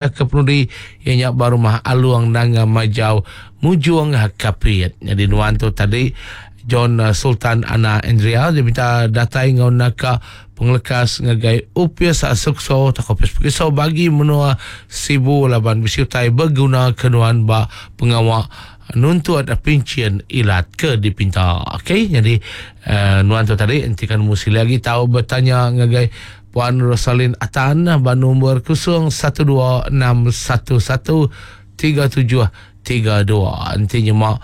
Ke penudi iya nya ba rumah Along Nanga Majau Mujong Kapit. Nyadi nuan tu tadi John Sultan Ana Andrea diminta datai enggau naka pengelekas ngagai Opis Sukso tauka Opis Periksa bagi menua Sibu laban bisi utai beguna ke nuan ba pengawa nuntut pinchin ilat ke dipinta. Okey nyadi nuan tu tadi enti ka nemu silik agi tau betanya ngagai Puan Rosalin Atan ba nombor 0126113732. Enti nyema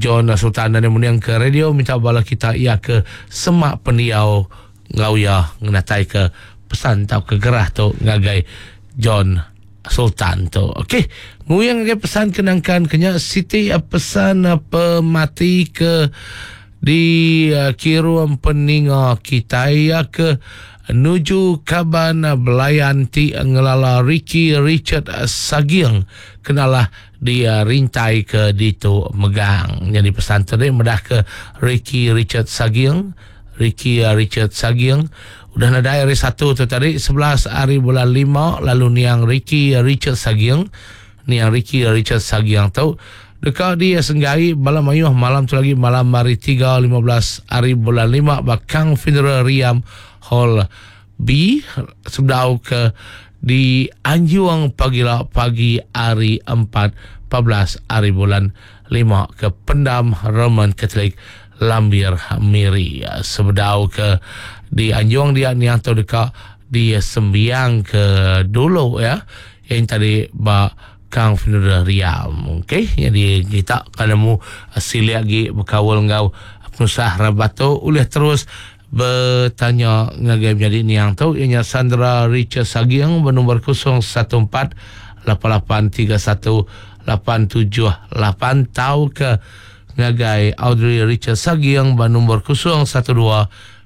John Sultan nadai mending ke radio minta bala kita iya ke semak pendiau enggau iya ngenatai ke pesan tauka gerah tu ngagai John Sultan tu. Okey, nguyang ngagai pesan ke nangkan ke nya siti pesan pemati ke Di kirum peninga kitai iya ke nuju kaban belayan ti ngelala Ricky Richard Saging kenalah di rintai ke ditu megang. Nyadi pesan tu deh medah ke Ricky Richard Saging, Ricky Richard Saging udah nadai hari Satu tu tadi 11 hari bulan 5 lalu niang Ricky Richard Saging Niang Ricky Richard Sagiang tu deka disenggai bala mayuh malam tu lagi malam hari 3 15 hari bulan 5 ba Kang Funeral Riam Hall B sebedau ke di Anjung pagila pagi hari 4 14 hari bulan 5 ke Pendam Roman Catholic Lambir Miri. Sebedau ke di Anjung dia niang tu deka disembiang ke dulu ya. Yang tadi ba Kang Funeral Riam. Okey, jadi kita ka nemu silik agi bekaul enggau penusah rabat tu ulih terus betanya ngagai menyadi niang tu iya nya Sandra Richard Saging benombor 014 8831 878 tauka ngagai Audrey Richard Saging ba nombor 012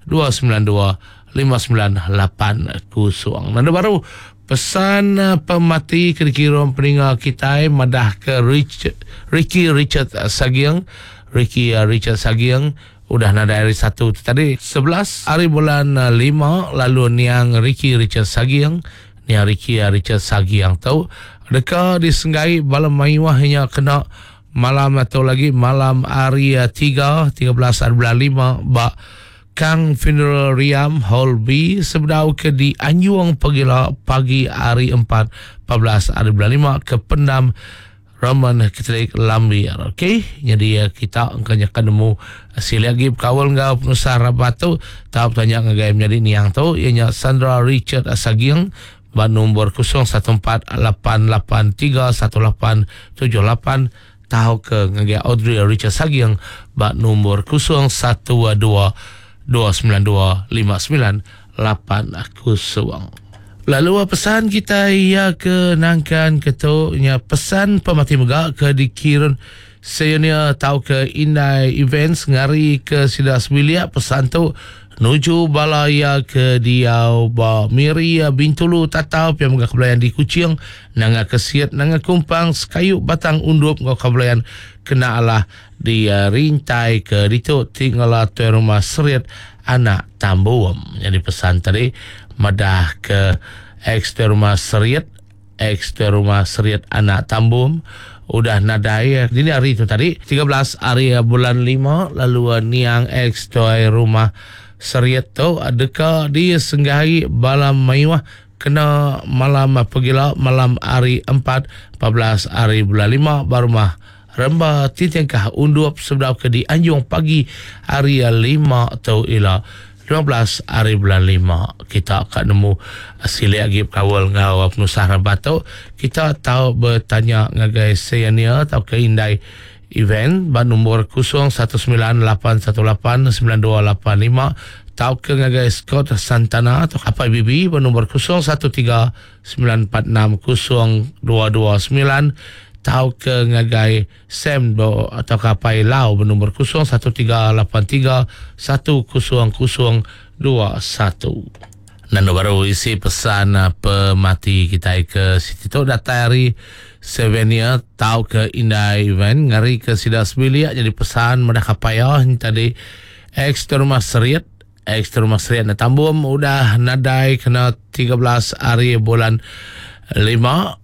292 5980. Nanda baru Pesan pemati ke dikirum peninga kitai madahka Rich, Ricky Richard Saging, Ricky Richard Saging udah nadai hari Satu tu tadi 11 hari bulan 5 lalu niang Ricky Richard Saging, niang Ricky Richard Saging tu deka disenggai bala mayuh nya kena malam tu lagi malam hari 3 13 hari bulan 5 ba Kang Funeral Riam Hall B sebedau ke dianjung pegila pagi hari 4 14 hari bulan 5 ke Pendam Roman Catholic Lambir. Okey, jadi eh, kita engka nya akan nemu eh, silik agi bekaul enggau penusah rabat tu tau betanya ngagai menyadi niang tu iya nya Sandra Richard Saging ba nombor 0148831878 Tauka ngagai Audrey Richard Saging ba nombor 012 292 5980. Lalu pesan kitai iya ke nangkan ke tu nya pesan pemati mega ke dikirun Seyonia tauka Indai Events ngari ke sida sebilik pesan tu Nuju bala iya ke diau ba Miri, Bintulu, Tatau pia mega Kebelayan di Kuching, Nanga Kesit, Nanga Kumpang, Sekayu Batang Undup enggau Kebelayan kena alah di rintai ke ditu ti ngela Tuai Rumah Serit Anak Tambum. Nyadi pesan tadi madah ke ex Tuai Rumah Serit Ex Tuai Rumah Serit Anak Tambum udah nadai dini hari tu tadi 13 hari bulan 5 lalu niang ex Tuai Rumah Serit tu deka disenggai bala mayuh kena malam pegila malam hari 4 14 hari bulan 5 ba rumah Remba Tintingkah Undup sebedau ke dianjung pagi hari 5 tu ila. 15 hari bulan 5 kita ka nemu silik agi bekaul enggau penusah rabat tu kita tau betanya ngagai Senior tauka indai event ba nombor 0198189285 tauka ngagai Scott Santana atau Apai Bibi ba nombor 0139460229 tauka ngagai Sam ba tauka Apai Lau ba nombor 0138310021. Nanda baru isi pesan pemati kitai ke siti tu datai ari Sevenia tauka Indai Event ngari ke sida sebilik jadi pesan madah ka paya tadi ex terumah serit ex terumah serit na tambum udah nadai kena 13 hari bulan 5.